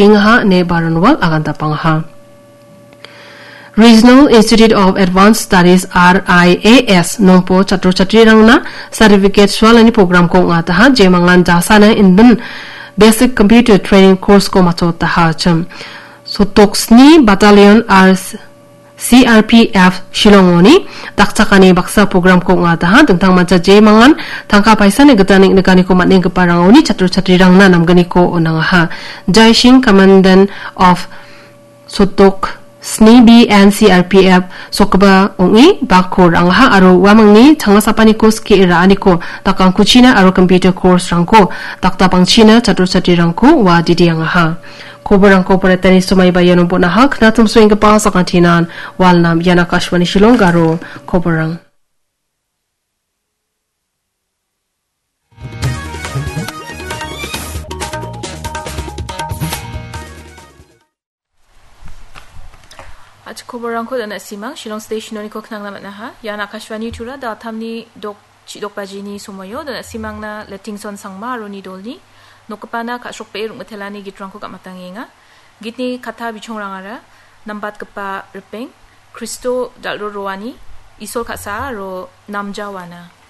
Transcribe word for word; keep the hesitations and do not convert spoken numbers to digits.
engaha ine Baranwal agandapangaha. Regional Institute of Advanced Studies, R I A S, nongpo chatro chatrirangna certificate sualani programko ong·ataha, jemangan jasana indin basic computer training course-ko machotaha chim. Sotok sni Battalion R C R P F Shillongoni dakchakani baksa programko ong·ataha, dingtangmancha jemangan tangka paisani gita neng·nikaniko man·enggiparangoni chatro chatrirangna namgniko on·angaha. Jaising, Commandant of Sotok sni B N C R P F sokgipa ong·e bakko ra·angaha aro uamangni changnasapaniko skie ra·aniko dakangkuchina aro computer course-rangko dakdapangchina chatro chatrirangko ua didiangaha. Koborangko poretani somaiba iano bon·aha, knatimsoenggipa sakantinan walnam ian Akashvani Shillong garo koborang. Achi koborangko dana simang, Shillong Station-oniko knangna man·aha. Ian Akashvani Tura, da·altamni dok, chidok bajini somoio, dana simangna Lettingson Sangma aro nidolni nokgipana ka·srokbee rong·mitelani gitrangko gam·atangenga. Gitni katta bichongrangara, nambatgipa ripeng, Kristo dal·ro roani, Isol ka·sa aro namja wana.